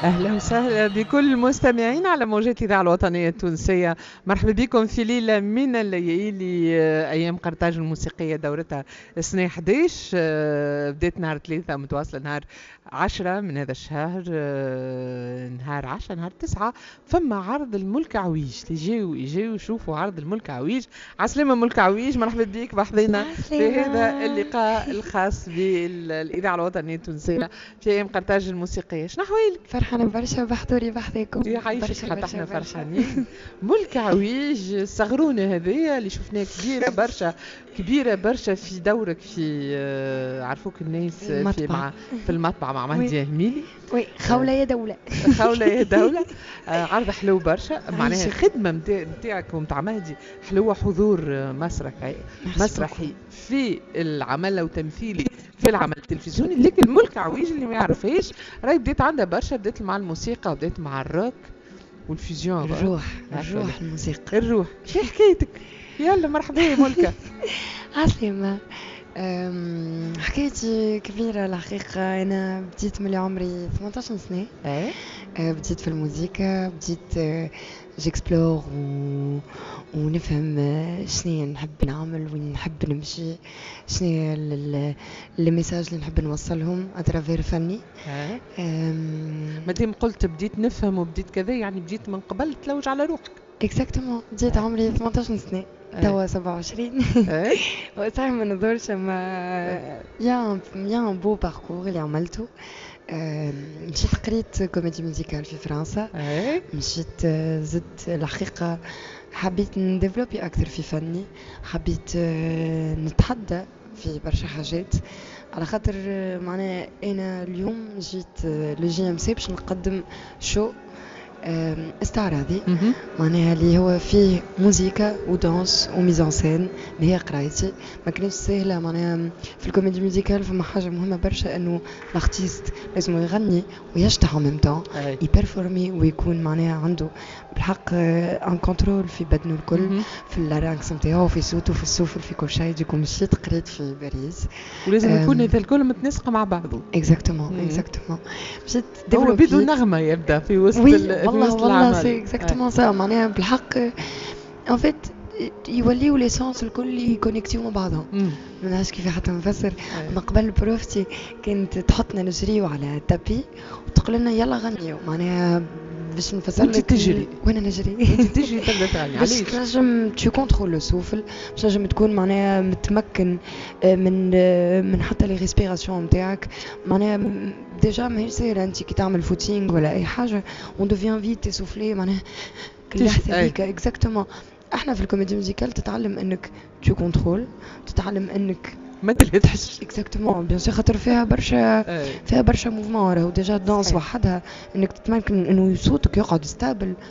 اهلا وسهلا بكل المستمعين على موجات الاذاعة الوطنية التونسيه. مرحبا بكم في ليلة من الليالي، ايام قرطاج الموسيقية دورتها السنة 11، بدات نهار 3 متواصلة نهار 10 من هذا الشهر. نهار 10، نهار 9 فما عرض الملك عويج. يجيو يجيو يشوفوا عرض الملك عويج. عسلامة ملك عويج، مرحبا بك بحذينا في هذا اللقاء الخاص بالاذاعه الوطنية التونسية في ايام قرطاج الموسيقيه. شنو احوالك؟ فرحانة برشا بحضوري بحذاكم. يعيشك، حتى احنا فرحانين. ملك عويج الصغرونة هذيا اللي شفناها كبيرة برشا، كبيرة برشا في دورك في عرفوك الناس في مع في المطبعة مع مهدي هميلي. oui، خولة يا دولة. خولة يا دولة. عرض حلو برشا، معناها خدمة نتاعك ومتاع مهدي حلوة، حضور مسرحي مسرحي في العمل وتمثيلي في العمل التلفزيوني. لكن ملك عويج اللي ما يعرفهاش راهي بديت عندها برشا، بديت مع الموسيقى وبديت مع الروك وال fusion. الروح، الروح الموسيقى. الروح. شو حكايتك؟ يلا مرحبا يا ملكة. عسلامة. حكايتي كبيرة الحقيقة. أنا بديت من عمري 18 سنة. بديت في الموسيقى، بديت j'explore ونفهم شنو نحب نعمل، وين نحب نمشي، شنو les messages اللي نحب نوصلهم à travers فني. مادام قلت بديت نفهم وبديت كذا، يعني بديت من قبل تلوج على روحك. exactement، بديت عمري 18 سنة، توا 27، صحيح ما نظهرش، اما y a un beau parcours اللي عملته. مشيت قريت comédie musicale في فرنسا. مشيت زدت، الحقيقة حبيت ن développer أكثر في فني، حبيت نتحدى في برشا حاجات، على خاطر معناها انا اليوم جيت le JMC باش نقدم show استعراضي، معناها اللي هو فيه موزيكا و danse و mise en scène اللي هي قرايتي. ما كانتش سهله. معناها في ال comédie musicale فما حاجة مهمة برشا، انه l'artiste لازم يغني ويشطح en même temps، ي performer ويكون معناها عنده بالحق un contrôle في بدنه الكل، في ال larynx نتاعو، في صوته، في السوفل، في كل شيء. du coup مشيت قريت في باريس. ولازم يكون هذا الكل متناسق مع بعضه. exactement exactement. مشيت هو بيدو نغمة يبدا في وسط في وسط والله c'est exactement ça. معناها بالحق en fait يوليو les sens الكل ي connecter و مع بعضهم. ما نعرفش كيف حتى نفسر. من قبل prof تي كانت تحطنا نجريو على ال tapis وتقول لنا يلا غنيو. معناها باش نفسر لك، تجري. وانا نجري. انت تجري تبدا تغني. علاش؟ باش تنجم tu contrôles le souffle، باش تنجم تكون معناها متمكن من حتى les respirations نتاعك. معناها déjà ماهيش ساهله، انت كي تعمل footing ولا اي حاجة on devient vite essoufflé، معناها اللحظة هذيك. exactement، احنا في ال comédie musicale تتعلم انك tu contrôles، تتعلم انك ما تلهثش. exactement، bien sûr، خاطر فيها برشا، فيها برشا mouvements. راهو déjà danse وحدها انك تتمكن انه صوتك يقعد stable.